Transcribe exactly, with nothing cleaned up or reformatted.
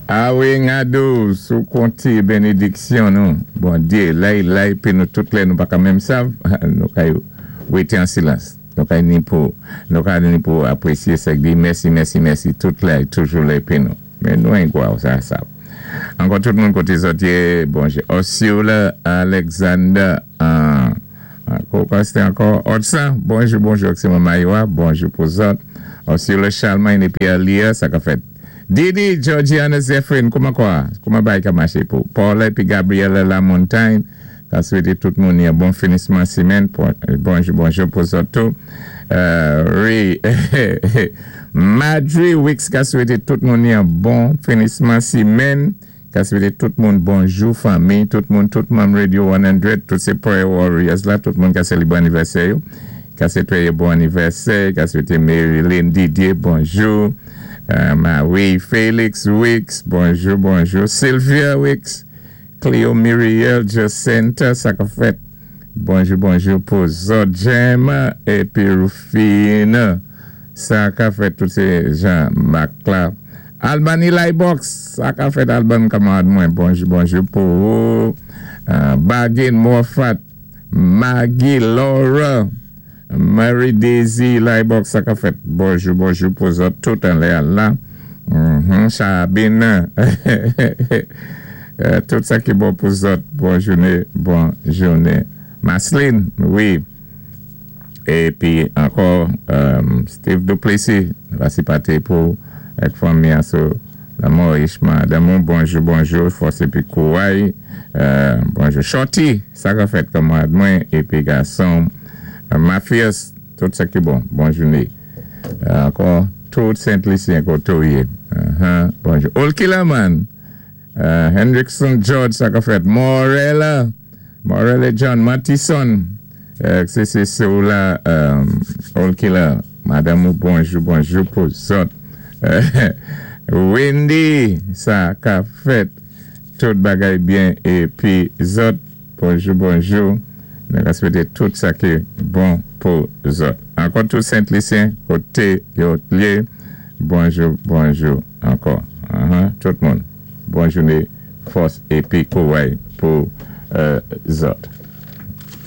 A wi, Ngadou, sou konti bénédiksyon nou. Bondyé, lay lay, pi nou tout lè nou pa ka menm sav, nou kay wété an silans. Nou kay ni pou, nou kay ni pou apwésyé sa di, mèsi, mèsi, mèsi, tout lè, toujou lè pi nou. Men nou en gwa ou sa sav. Ankò tout moun koté zòt yé, bonjou. Osiola, Alexander, ankò, sé ankò, Otsa, bonjou, bonjou, sé Mayowa, bonjou pou zòt. Osiola Charlemagne épi Alia, sa ka fèt. Didi, Georgiana Zephyrin, kouman kwa? Kouman bay ka maché pou? Paula épi Gabriela Lamontagne, ka swété tout moun yon bon finisman simenn, bonjou, bonjou pou zòt tou. Wi, Madry Wicks ka swété tout moun yon bon finisman simenn, ka swété tout moun bonjou fanmi, tout moun, tout moun Radio san, tout sé Prayer Warriors la, tout moun ka sélébré anivèsè yo, ka swété bon anivèsè, ka swété Marilyn Didier, bonjou. Marie Félix Wicks, bonjou, bonjou. Sylvia Wicks, Cleo Muriel Jacinta, sa ka fèt. Bonjou, bonjou pou zòt Gemma épi Rufina. Sa ka fèt tout sé Jean Macla. Albany Libox, sa ka fèt Alban kanmarad mwen. Bonjou, bonjou pou Bagin Morfat, Maggie Laura, Mary Daisy Libox, sa ka fèt. Bonjou, bonjou pou zòt tout an lè la. Chabine. Tout sa ki bon pou zòt. Bon jouné, bon jouné. Masline, wi. Épi ankò, Steve Duplessis, vasi paté pou ek fanmi aso la Ishma Adamou, bonjou, bonjou, fòs épi kouway. Bonjou, Shorty, sa ka fèt kanmarad mwen, épi gason. Mafias, tout sa ki bon, bon jouné. Ankò, tout Saint-Lucien koté ou yé. Bonjou. Olkilaman, Hendrickson George, sa ka fèt. Morella, Morella John Mattison, sé sé sé ou la, Olkila, madanm ou bonjou, bonjou pou zòt. Wendy, sa ka fèt. Tout bagay byen, épi zòt, bonjou, bonjou. Nou swété tout sa ki bon pou zòt. Ankò tout Saint-Lucien, koté yo yé, bonjou, bonjou, ankò. Tout moun, bon jouné, fòs épi kouway pou zòt.